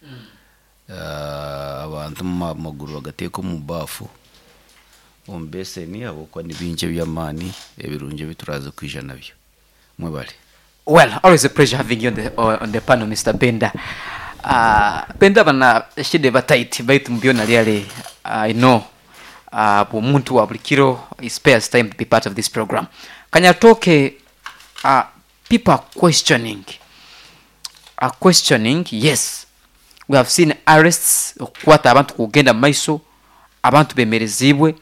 Uh, abantu mu maguru bagateeka omu bafu omu beseni ahabw'okuba ni bingi eby'amaani ebirungi ebi turaza kwija nabyo. Mwebale. Well, always a pleasure having you on the, on the panel, Mister Benda. Uh, Benda bana shide batight baitu mbyona lyale. I know uh, omuntu wa buli kiro he spares time to be part of this program. Kanyatoke, uh, people are questioning. Are questioning, yes. We have seen arrests okukwata abantu kugenda mu maiso, abantu bemerezibwe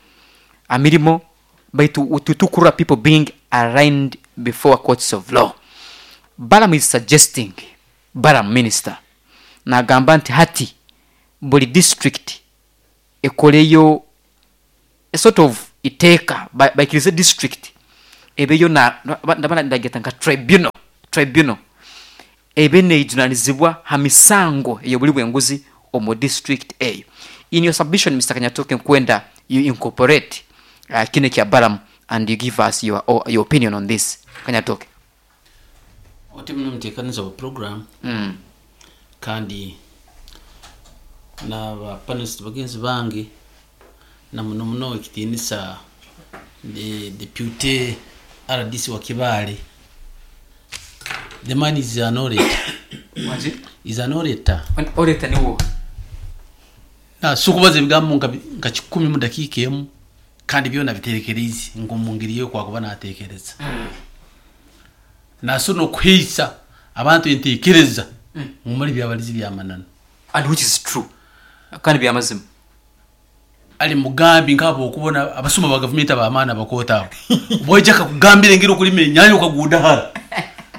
amirimo, baitu tutukura people being arraigned before courts of law. Balaam is suggesting, Balaam minister Nagamba nti hati buli district ekoreyo a sort of iteeka, ba- baikirize district ebeyo na na- ndaba ndageta nka tribunal tribunal ebe neijunanizibwa ha misango ey'obuli bw'enguzi omu district eyo. In your submission, Mister Kanyatoke, nkwenda you incorporate uh, kino kya Balaam and you give us your, your opinion on this. Kanyatoke. Oti muno muteekaniza wa program mm. kandi n'aba panelist bagenzi bange, na muno muno ekitiinisa the deputy R D C wa Kibaale. The man is an orator. Is an orator. Orator niwo. Na sikubaza ebigambo nka nka kikumi mu dakiika emu, kandi byona biterekereize ngo mu ngeri yo kwakuba natekereza naso nokuheisa abantu entekereza mumali byabalizi byamanano. And which is true, kandi byamazima. Ali mugambi nkabo okubona abasuma ba gavumenti abamaana bakoota abo bwojja kakugambira engeri okulima ennyanya okaguda hara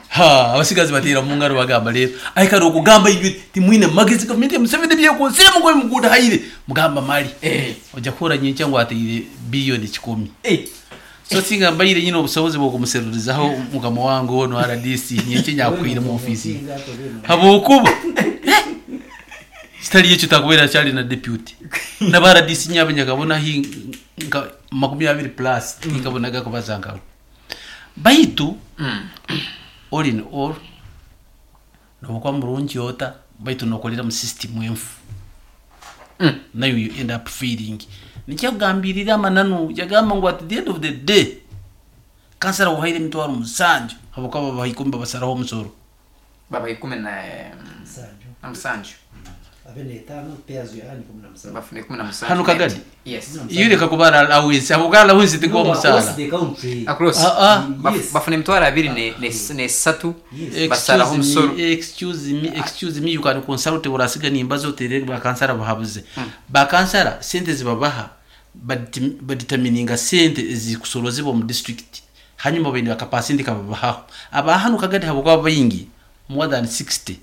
ha abasigazi bateera mu ngalo bagamba leero aikara okugamba inywe timwine magezi, gavumenti ya Museveni byekozire mugoye muguda haire mugamba mali. Eh. Ojja kuhura nyenkya ngu ateire biliyoni kikumi. Eh. So singa mbaire nyine obusobozi bwokumuserurizaho mukama wange ono R D C, nyenkya nyakwire mu ofiisi habwokuba kitali ekyo takubeera kyali na deputy naba R D C nyabe nyakabona hi nka makumi abiri plus tinkabonaga kubaza nkawe. Baitu all in all, nobukuba murungi ota, baitu nokolera mu system enfu, Mm. nayo you end up failing. Nikyakugambirira amananu yagamba ngu at the end of the day kansara wahaire emitwaro musanju habwokuba babaha ikumi babasaraho omusoro. Baba ikumi na na musanju. Bafuna ikumi na musanju. Hano Kagadi? Yes. Iyo reka kubara allowance, habwokuba allowance tikuwa omusaara. Across. Ah, ah. Baf- bafuna emitwaro abiri ne- ne- nesatu basaraho Excuse omusoro. me, excuse me, excuse me, you can consult urasiga nimbazo otere bakansara bahabuze. Bakansara sente zibabaha badit- badetermininga sente ezikusorozebwa mu district, hanyuma baine akapasenti kababahaho. Abahano Kagadi habwokuba baingi, more than sixty,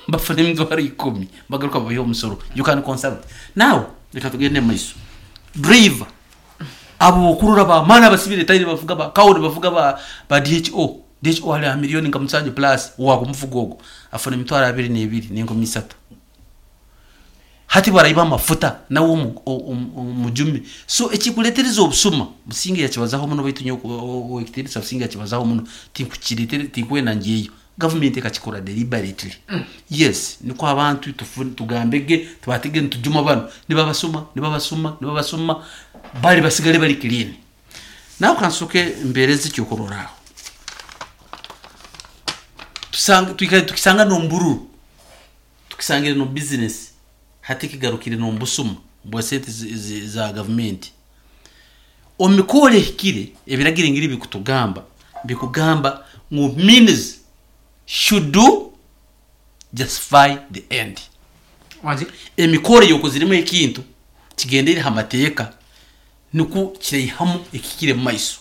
bafuna emitwaro ikumi bagaruka babahe omusoro. You can consult. Now reka tugende mu maiso. Driver abo okurora bamaana abasibire tayiri bavuga ba kawuni bavuga ba ba D H O D H O ali ha miliyoni nka musanju plus wakumuvuga ogwo afuna emitwaro abiri n'ebiri n'enkumi isatu. Hati barayiba amafuta nawe omu- omu- omujumi. So ekikuletereza obusuma, Businge yakibazaho muno, baitu nyowe owekitiinisa Businge yakibazaho muno, tinkukiretere tinkwenda ngiyeyo. Gavumenti ekakikora deliberately, yes, niko abantu tufu- tugambege tubatege nitujuma bano nibabasuma nibabasuma nibabasuma bali basigale bali clean. Nawe kansoke mbereze ekyokuroraho. Tusanga twikale tukisanga nombururu, tukisangire no business, hati kigarukire nombusuma bwa sente zi- zi- za gavumenti. Omikoro ehikire ebiragiro ngiri bikutugamba bikugamba ngu means should justify the end. Wangi? Emikoro yokoziremu ekintu kigendere ha mateeka nikwo kireihamu ekikire mu maiso.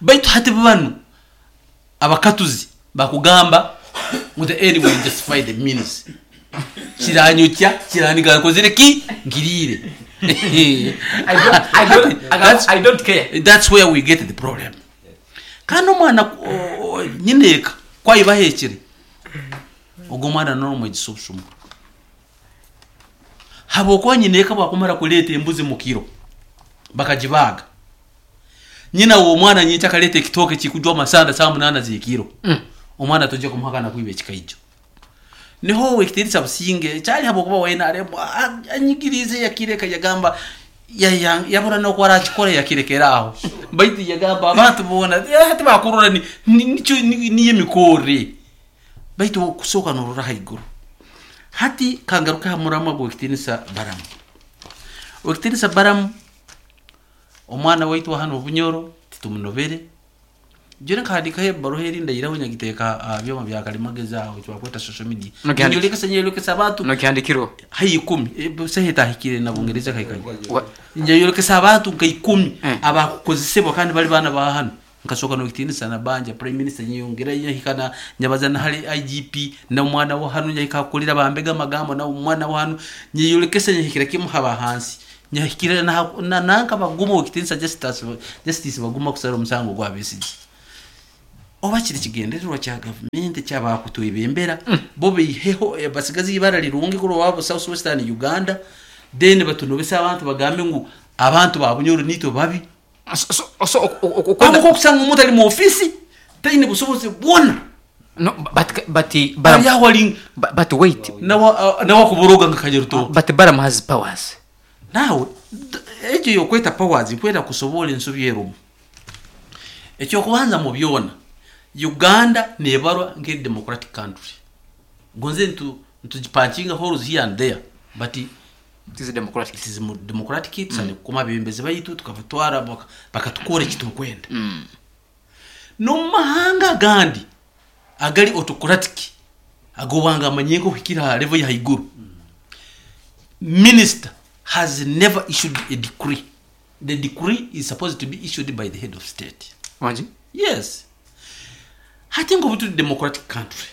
Baitu hati banu abakatuzi bakugamba ngu the end will justify the means, kiranyukya kiraniga nkozire ki ngirire. I don't, I don't, I That's- don't, I don't care. That's where we get the problem. Kandi omwana o- o- nyineeka kwayibahekire ogwo omwana nomwegisa obusuma habwokuba nyineeka bwakumara kuleeta embuzi mukiro bakagibaaga, nyina w'omwana nyinki akaleeta ekitooke kikujwa amasanda saa munaana z'ekiro, omwana tojja kumuhakana kwiba ekikaijjo. Niho ekitiinisa Businge kyali habwokuba wena aremu anyigirize yakireka yagamba ya- ya- yabura noku arakikora yakirekera aho. Baitu yagamba abantu boona, "Eh, tibakurora ni- ni- nikyo- ni- niyo emikore." Baitu kusooka norora haiguru. Hati kangaruka ha muramwa gwekitiinisa Baramu. Wekitiinisa Baramu, omwana waitu wa hano Obunyoro titumunobere. Jore nkahandikaho ebaruha eri ndayiraho nyagiteeka aha byoma bya karimagezi aho twakweta social media. Nokihandika- Nyolekesa nyolekesa abantu Nokihandikirwa. hai ikumi. Eh, sehe etahikire na Bungereza kaikanye. Wa- Njayolekesa abantu nka ikumi Eh. abakukozesebwa kandi bali baana ba hano. Nkasoka nokitinisa na banja prime minister nyongera yahikana nyabaza na hali I G P na mwana wa hanu nyahika kulira bambega magambo na mwana wa hanu nyiyolekesa nyahikira kimu haba hansi nyahikira na, na nanka baguma okitinisa justice justice baguma kusara omusango gwa Besigye. Oba kiri kigendererwa kya gavumenti kyabakutwebembera mm. bo biheho eh, basigazi ibara lirungi kuri wabo South Western Uganda then batunobesa abantu bagambe ngu abantu babunyoro nito babi. So so okwenda kusanga umuntu ali mu ofisi taine busobozi bwona. No, but but Baram yawali but, but wait nawa nawa kuboroga ngakajeruto but Baram has powers nawe ejo yokweta powers kwenda kusobola ensobi erumu ekyo kubanza mu byona Uganda nebarwa nge democratic country gonze ntu ntujipanchinga holes here and there but it is democratic it is democratic tsane mm. kuma bembeze bayitu tukabatwara bakatukora ekitukwenda mm. No mahanga gandi agali autocratic agobanga amanyengo hikira level ya haiguru mm. Minister has never issued a decree. The decree is supposed to be issued by the head of state. Wanji? Yes. Hati ngo butu democratic country.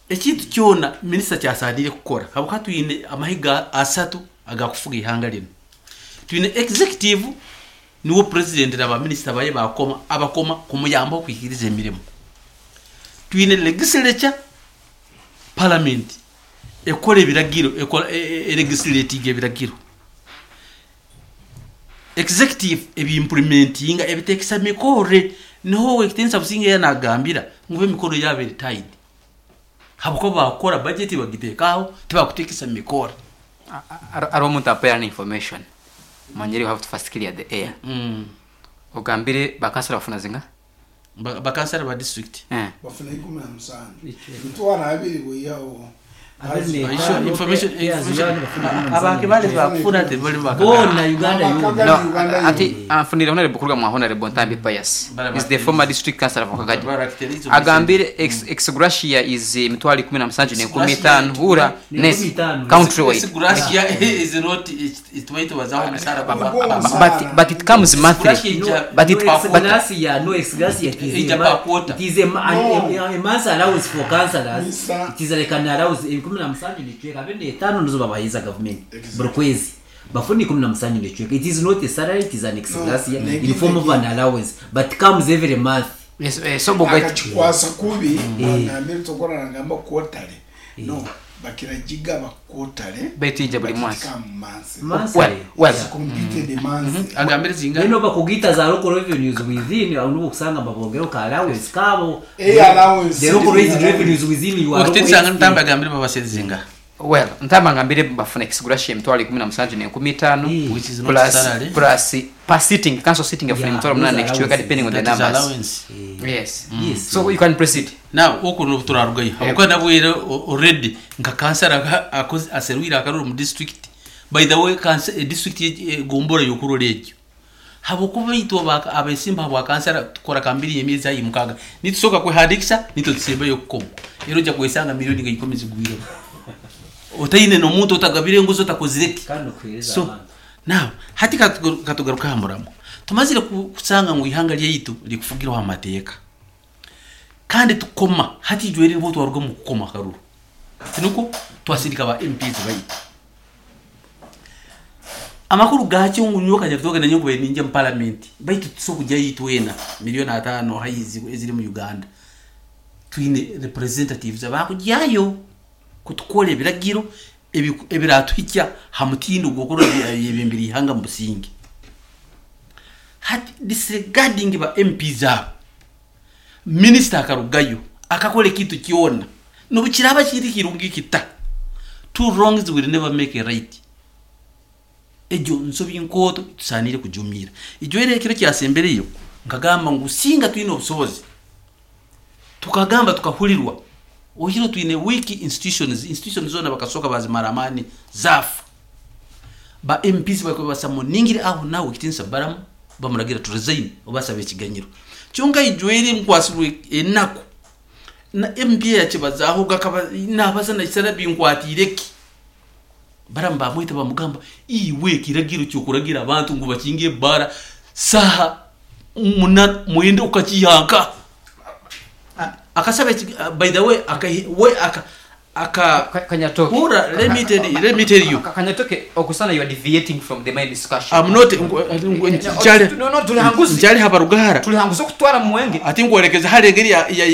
Ekintu kyona minister kyasadire kukora habuka twine amahiga asatu agakufuga ihanga lino. Twine executive niwo president na minister baye bakoma abakoma kumuyamba kwikiriza emirimo. Twine legislature parliament ekora ebiragiro ekora legislative ebiragiro. Executive ebiimplementinga ebitekesa mikore niho ekitensa businge yanagambira ngube mikoro yabere tied. Habuko bakora budget bagitekaho tibakutekesa mikoro. Aro muntu appear information. Manjeri you have to first clear the air. Mm. Ogambire bakansala bafuna zinga? Bakansala ba district. Eh. Bafuna ikumi na musanju. Mutwara abiri bweyawo. Information abake bale bakufuna tebali bakona Uganda yona. No, ati afunira honorable kuruga mu honorable Ntambi Pius is the former district councillor of Kagadi. Agambire ex, ex gratia is mitwali kumi na musanju ne kumi tano hura net country wide. Ex gratia is not it wait wazaho misara baba but but it comes monthly. But it but gratia no ex gratia it is a, it is a, a, a month allowance for councillors. It is like an allowance ikumi na musanju nechweka bende tano ndizo babahiza government buri kwezi bafuni ikumi na musanju nechweka. It is not a salary, it is an ex gratia no, in form of an allowance but comes every month. Yes, eh, so boga akachikwasa kubi ngambire tokora ngamba quarterly no bakirajiga ba quarterly betija buri mwaka well well completed month agambire zinga nino bakugita za local revenues within anubo kusanga babongero ka allowance kabo eh allowance the local revenues within you are okutitsanga ntamba agambire babasezinga. Well ntamba ngambire bafuna ex gratia mitwalo ikumi na musanju ne kumi tano plus plus per sitting council sitting afuna mitwalo munana nekichweka depending on the numbers. Allowance. Yes. Mm. Yes. So you can proceed. Now uko no turarugayo abuka nabwire already nka kansara akoze aserwira akaruru mu district. By the way kansa district gombora yokurora ekyo habukuba itwa abesimba bwa kansara tukora kambiri yemyezi ayi mukaga nitusoka kwehadikisa nito tusemba yokukoma ero ja kwesanga milioni nga ikumi zigwire otaine no muntu otagabire nguzo takozireki. So now hati katugaruka hamuramo tumazire kusanga ngo ihanga lyeyitu likufugirwa amateka kandi tukoma hati jweri nibo twaruga mu kukoma karuru tinuko twasindika ba M Ps bayitu amakuru gachi ngu nyoka nyakutoka na nyongo ninje mu parliament bayitu tusokujya yitwena milioni atano hayizi eziri mu Uganda twine representatives abakujyayo kutukora ebiragiro ebiratuhikya hamutindo gokoro ebimbiri ihanga mu businge hati disregarding ba M Ps abo minister akarugayo akakora ekintu kyona nobukiraba kiri kirungi kita two wrongs will never make a right. Ejo nsobi nkoto tusanire kujumira ijo ere kiro kyasembereyo nkagamba ngu singa twine obusobozi tukagamba tukahulirwa ohiro twine wiki institutions institutions zona bakasoka bazimara amani zafu ba M Ps bakobasamoningire aho nawe kitinsa baramu bamuragira to resign obasabe ekiganyiro kyonka ijwere nkwasirwe enaku na M P yakibazaho gakaba nabaza na isara binkwatireki baramba mwita bamugamba iwe kiragiro cyo kuragira abantu ngo bakinge bara saha muna mwenda ukakiyanka akasaba eki- uh, by the way aka we aka aka Ka- Kanyatoke. Hura, let me tell you, let me tell you. Ka- Kanyatoke, okusana you are deviating from the main discussion. I'm not nkyali No, no, tulihanguzi. nkyali habarugara Tulihanguza okutwara mwenge. ati ngwerekeza hari engeri ya ya